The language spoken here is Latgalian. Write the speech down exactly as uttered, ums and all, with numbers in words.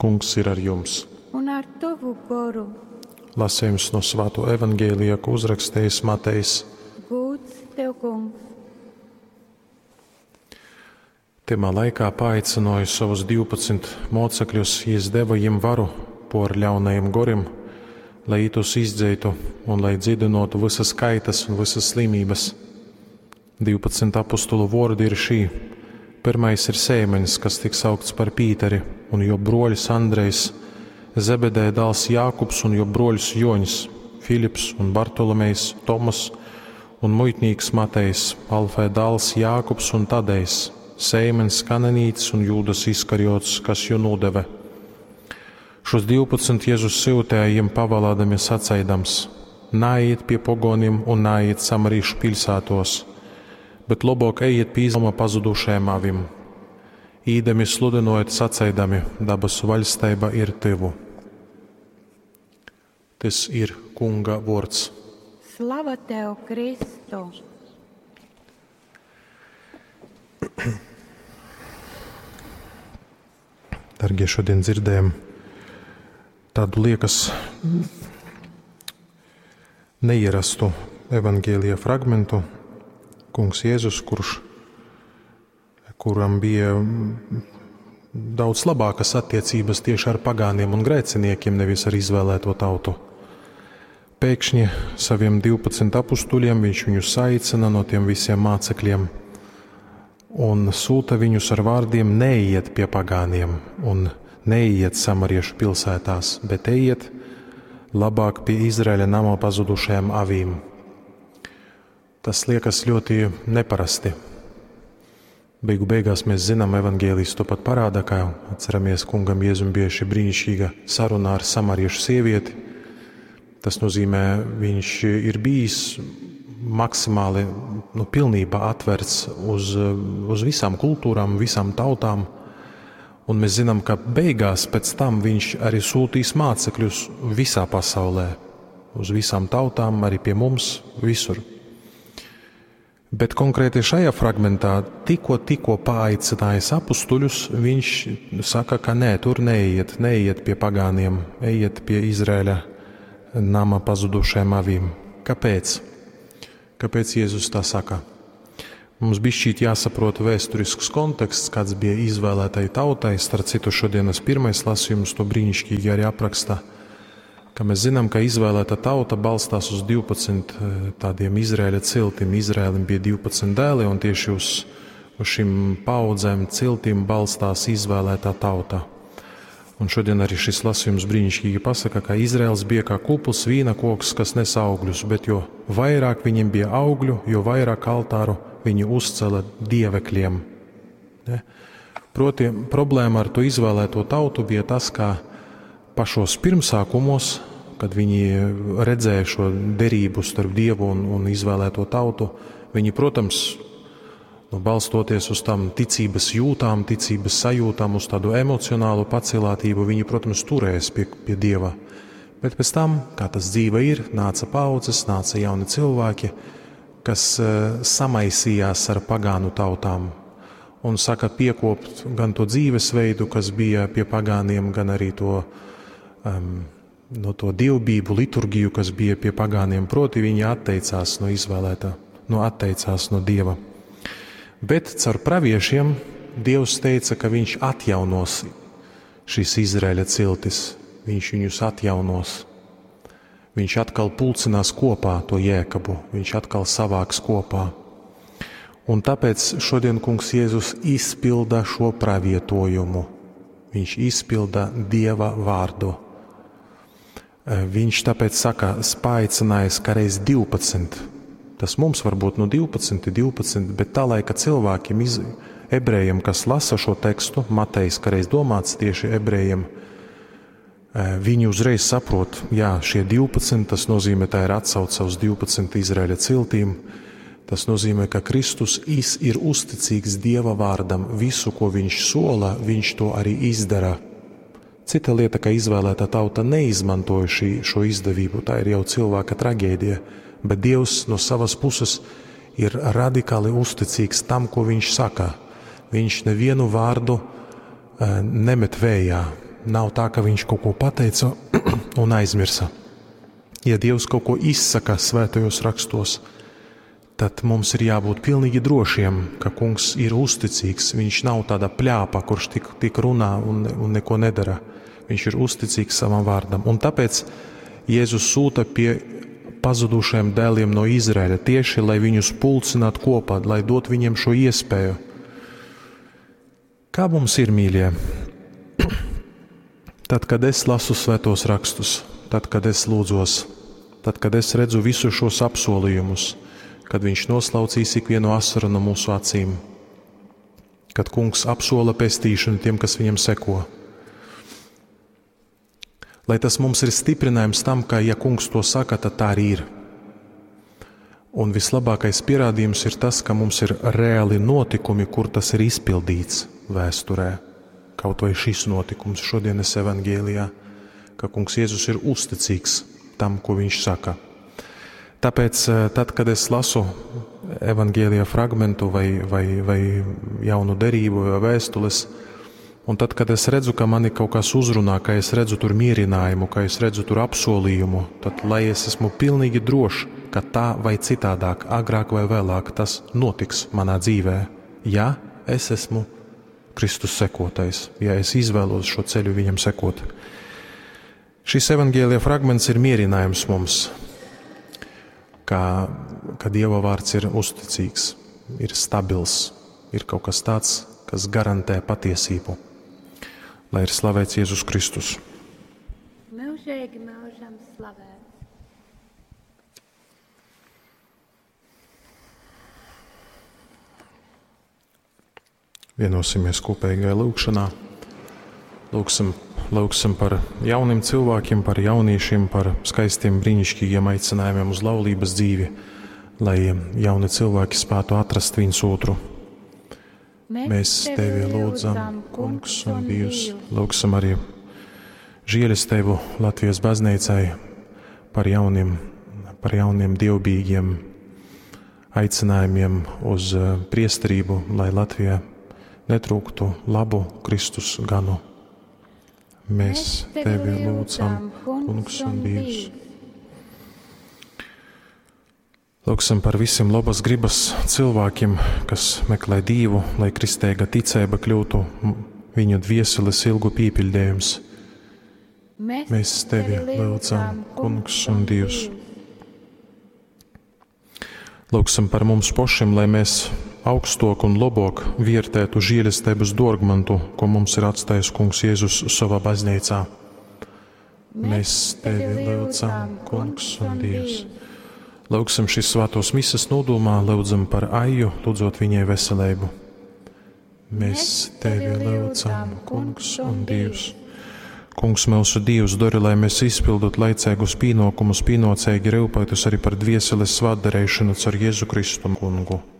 Kungs ir ar jums! Un ar tovu goru. Lasījums no Svāto evaņģēlija, ko uzrakstījis Matejs. Gūds tev, kungs! Tymā laikā paaicināja savus divpadsmit mocekļus, jis deva jim varu por ļaunajim gorim, lai tos izdzeitu un lai dzidinotu visas kaitas un visas slimības. Divpadsmit apostulu vordi ir šī. Pirmais ir Sēmenis, kas tiek saukts par Pīteri, un jo broļs Andrejs, Zebedēja dēls Jākubs un jo broļs Joņs, Filips un Bartolomejs, Tomas un muitnīks Matejs, Alfē dēls Jākubs un Tadejs, Sēmens Kananīts un Jūdas Iskariots, kas jū nodeve. Šos divpadsmit Jēzus syutēja jiem pavalādami saceidams: Nāiet pie pogonim un nāiet samarīšu pilsētos, bet lobok ejiet pie izlama pazudušajam avim. Īdami sludinojot saceidami: dabasu vaļsteiba ir tyvu. Tas ir Kunga vords. Slava tev, Kristu! Dargie, šodien dzirdējam tādu liekas neierastu evaņģēlija fragmentu. Kungs Jēzus, kurš, kuram bija daudz labākas attiecības tieši ar pagāniem un grēciniekiem, nevis ar izvēlēto tautu. Pēkšņi saviem divpadsmit apustuļiem viņš viņus aicina no tiem visiem mācekļiem un sūta viņus ar vārdiem: neiet pie pagāniem un neiet samariešu pilsētās, bet ejiet labāk pie Izraēļa nama pazudušajām avīm. Tas liekas ļoti neparasti. Beigu beigās mēs zinām, evaņģēlijs to pat parāda, kā atceramies, kungam Jēzum bija šī brīnišķīga saruna ar samariešu sievieti. Tas nozīmē, viņš ir bijis maksimāli, nu, pilnībā atverts uz, uz visām kultūrām, visām tautām. Un mēs zinām, ka beigās pēc tam viņš arī sūtīs mācekļus visā pasaulē, uz visām tautām, arī pie mums, visur. Bet konkrēti šajā fragmentā tikko, tikko paaicinājis apustuļus, viņš saka, ka nē, tur neiet, neiet pie pagāniem, ejiet pie Izraēļa nama pazudušajām avīm. Kāpēc? Kāpēc Jēzus tā saka? Mums bišķīt jāsaprot vēsturisks konteksts, kāds bija izvēlētai tautai. Starp citu, šodienas pirmais lasījums to brīnišķīgi arī apraksta, ka mēs zinām, ka izvēlēta tauta balstās uz divpadsmit, eh, tādiem Izraēļa ciltim. Izraēlim bija divpadsmit dēli, un tieši uz, uz šīm paudzēm ciltim balstās izvēlētā tauta. Un šodien arī šis lasījums brīnišķīgi pasaka, ka Izraels bija kā kupls vīna koks, kas nes augļus, bet jo vairāk viņiem bija augļu, jo vairāk altāru viņi uzcēla dievekļiem. Ne? Proti, problēma ar to izvēlēto tautu bija tas, ka pašos pirmsākumos, kad viņi redzēja šo derību starp Dievu un, un izvēlēto tautu, viņi, protams, nu, balstoties uz tām ticības jūtām, ticības sajūtām, uz tādu emocionālu pacilātību, viņi, protams, turējās pie, pie Dieva. Bet pēc tam, kā tas dzīve ir, nāca paudzes, nāca jauni cilvēki, kas, eh, samaisījās ar pagānu tautām un saka piekopt gan to dzīvesveidu, kas bija pie pagāniem, gan arī to, um, no to dievbību liturgiju, kas bija pie pagāniem. Proti, viņi atteicās no izvēlētā, no atteicās no Dieva. Bet caur praviešiem Dievs teica, ka viņš atjaunos šīs Izraēļa ciltis, viņš viņus atjaunos. Viņš atkal pulcinās kopā to Jēkabu, viņš atkal savāks kopā. Un tāpēc šodien Kungs Jēzus izpilda šo pravietojumu. Viņš izpilda Dieva vārdu. Viņš tāpēc saka, paaicinājis kā reiz divpadsmit. Tas mums varbūt nu divpadsmit, divpadsmit, bet tā laika cilvēkiem, iz-, ebrejiem, kas lasa šo tekstu, Matejs, kā reiz domāts tieši ebrejiem, eh, viņi uzreiz saprot, jā, šie divpadsmit, tas nozīmē, tā ir atsauce uz divpadsmit Izraēļa ciltīm. Tas nozīmē, ka Kristus is-, ir uzticīgs Dieva vārdam. Visu, ko viņš sola, viņš to arī izdara. Cita lieta, ka izvēlētā tauta neizmantoja šī, šo izdevību, tā ir jau cilvēka traģēdija, bet Dievs no savas puses ir radikāli uzticīgs tam, ko viņš saka. Viņš nevienu vārdu, eh, nemet vējā. Nav tā, ka viņš kaut ko pateica un aizmirsa. Ja Dievs kaut ko izsaka svētajos rakstos, tad mums ir jābūt pilnīgi drošiem, ka Kungs ir uzticīgs. Viņš nav tāda pļāpa, kurš tik, tik runā un, un neko nedara. Viņš ir uzticīgs savam vārdam. Un tāpēc Jēzus sūta pie pazudušajiem dēliem no Izraēļa tieši, lai viņus pulcinātu kopā, lai dot viņiem šo iespēju. Kā mums ir, mīļie? Tad, kad es lasu svētos rakstus, tad, kad es lūdzos, tad, kad es redzu visus šos apsolījumus, kad viņš noslaucīs ikvienu asaru no mūsu acīm, kad Kungs apsola pestīšanu tiem, kas viņam seko. Lai tas mums ir stiprinājums tam, ka, ja Kungs to saka, tad tā arī ir. Un vislabākais pierādījums ir tas, ka mums ir reāli notikumi, kur tas ir izpildīts vēsturē. Kaut vai šis notikums šodienas evangēlijā, ka Kungs Jēzus ir uzticīgs tam, ko viņš saka. Tāpēc, eh, tad, kad es lasu evangēlija fragmentu vai, vai, vai jaunu derību vai vēstules, un tad, kad es redzu, ka mani kaut kas uzrunā, ka es redzu tur mierinājumu, ka es redzu tur apsolījumu, tad lai es esmu pilnīgi drošs, ka tā vai citādāk, agrāk vai vēlāk, tas notiks manā dzīvē, ja es esmu Kristus sekotais, ja es izvēlos šo ceļu viņam sekot. Šis evangēlija fragments ir mierinājums mums, ka, ka Dieva vārds ir uzticīgs, ir stabils, ir kaut kas tāds, kas garantē patiesību. Lai ir slavēts Jēzus Kristus. Mūžīgi mūžam slavēts. Vienosimies kopīgajā lūgšanā. Lūgsim, lūgsim par jauniem cilvēkiem, par jauniešiem, par skaistiem, brīnišķīgiem aicinājumiem uz laulības dzīvi, lai jauni cilvēki spētu atrast viens otru. Mēs tevi lūdzam, Kungs un Dievs, lūgsim arī žēlastību Latvijas baznīcai par jauniem, par jauniem dievbijīgiem aicinājumiem uz eh, priesterību, lai Latvijā netrūktu labu Kristus ganu. Mēs tevi lūdzam, Kungs un Dievs. Lūgsim par visiem labas gribas cilvēkiem, kas meklē Dievu, lai kristīga ticība kļūtu viņu dvieseles ilgu pīpildījums. Mēs tevi lūdzam, Kungs un Dievs. Lūgsim par mums pašiem, lai mēs augstok un labāk vērtētu žēlestības dārgmantu, ko mums ir atstājis Kungs Jēzus savā baznīcā. Mēs tevi lūdzam, Kungs un Dievs. Lūgsim šīs svētos mises nodomā, lūdzam par Aiju, lūdzot viņai veselību. Mēs tevi lūdzam, Kungs un Dievs. Kungs, mūsu Dievs, dari, lai mēs izpildot laicīgus pienākumus, pienācīgi rūpētos arī par dvieseles svētdarīšanu caur Jēzu Kristu kungu.